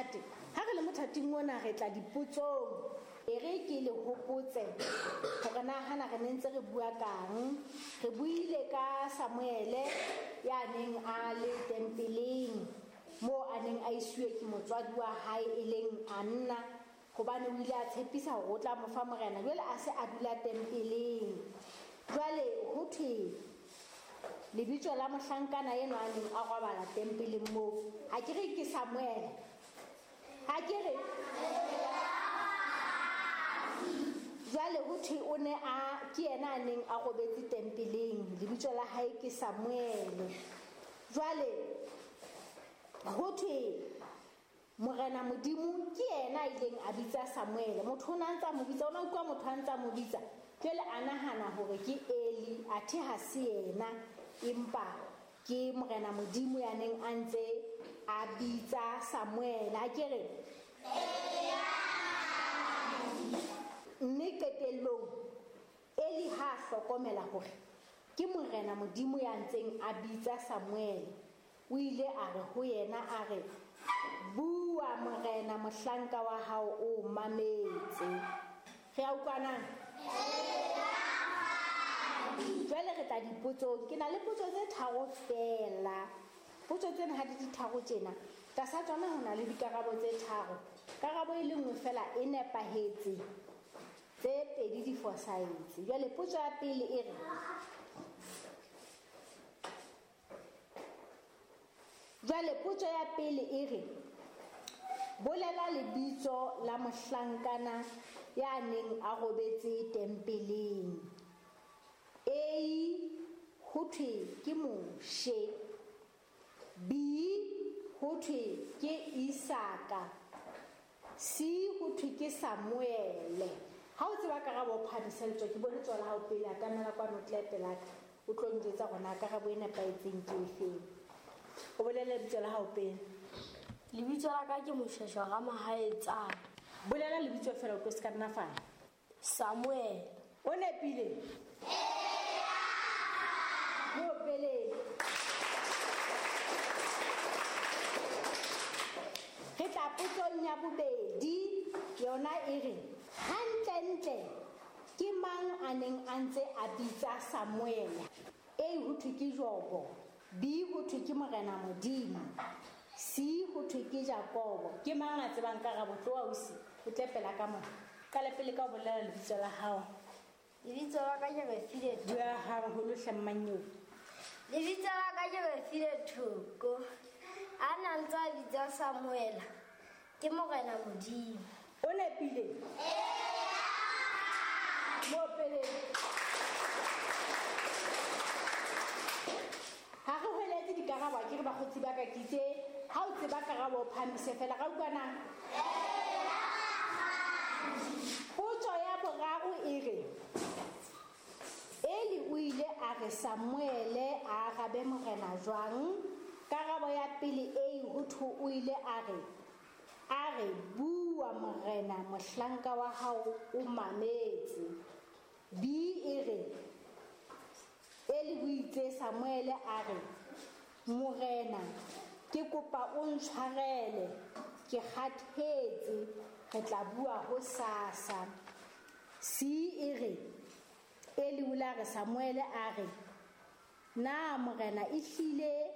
Monate. Ha re le mothating ona re tla dipotsong. E re ke le hopotse hore na hana re ne ntse re bua kang. Re buile ka Samuele ya neng a le tempeleng moo a neng a isuwe ke motswadi wa hae e leng Anna, hobane o ile a tshepisa hore o tla mo fa morena. Jwale a se a dula tempeleng. Jwale ho thwe lebitso la mohlankana enwa a neng a robala tempeleng moo, ha ke re ke Samuele? Ha ke re? Jwale ho thwe o ne a ke yena a neng a robetse tempeleng, lebitso la hae ke Samuele. Jwale ho thwe Morena Modimo ke yena a ileng a bitsa Samuele. Motho o ne a ntse a mo bitsa, o ne a utlwa motho a ntse a mo bitsa. Jwale a nahana hore ke Eli, athe ha se yena, empa ke Morena Modimo ya neng a ntse a bitsa Samuele. Ha ke re? Mme qetellong Eli ha a hlokomela hore ke Morena Modimo ya ntseng a bitsa Samuele, o ile a re ho yena, a re, Bua Morena, mohlanka wa hao o mametse. Re a utlwana? Jwale re tla dipotsong. Ke na le potso tse tharo feela. Potso tsena ha di di tharo tjena, tlasa tsona ho na le dikarabo tse tharo. Karabo e le nngwe feela e nepahetse, tse pedi di fosahetse. Jwale potso ya pele e re, jwale potso ya pele e re, bolela lebitso la mohlankana ya neng a robetse tempeleng. A, ho thwe ke Moshe. B, ho thwe ke Isaka. C, ho thwe ke Samuele. Ha o tseba karabo o phamise letsoho, ke bone letsoho la hao pele, atamela kwano o tle pelaka. O tlo njwetsa hore na karabo e nepahetseng ke efeng. O bolele lebitso la hao pele. Lebitso la ka ke Moshweshwe Ramahaetsana. Bolela lebitso feela o tlo se ka nna fana. Samuel. O nepile? Mo pele. Re tla potsong ya bobedi, yona e re, hantlentle ke mang a neng a ntse a bitsa Samuele? A, ho thwe ke Jobo. B, ho thwe ke Morena Modimo. C, ho thwe ke Jakobo. Ke mang a tsebang karabo? Tloha ausi, o tle pela ka mona. Qale pele ka ho bolela lebitso la hao. Lebitso la ka ke Refile Thoko. Bua haholo hle mmanyeo. Lebitso la ka ke Refile Thoko. A na ntse a bitsa Samuela ke Morena Modimo. O nepile? Mo pele. Ha re hweletse dikarabo, ha ke re bakgotsi ba ka ke itse, ha o tseba karabo o phahamise fela, ra utlwana? Potso ya boraro e re, Eli o ile a re Samuele a arabe morena jwang? Karabo ya pele A, ho thwe o ile a re, a re, bua morena, mohlanka wa hao o mametse. B e re, Eli o itse Samuele a re, Morena, ke kopa o ntshwarele, ke kgathetse, re tla bua hosasa. C e re, Eli o la re Samuele a re, na morena ehlile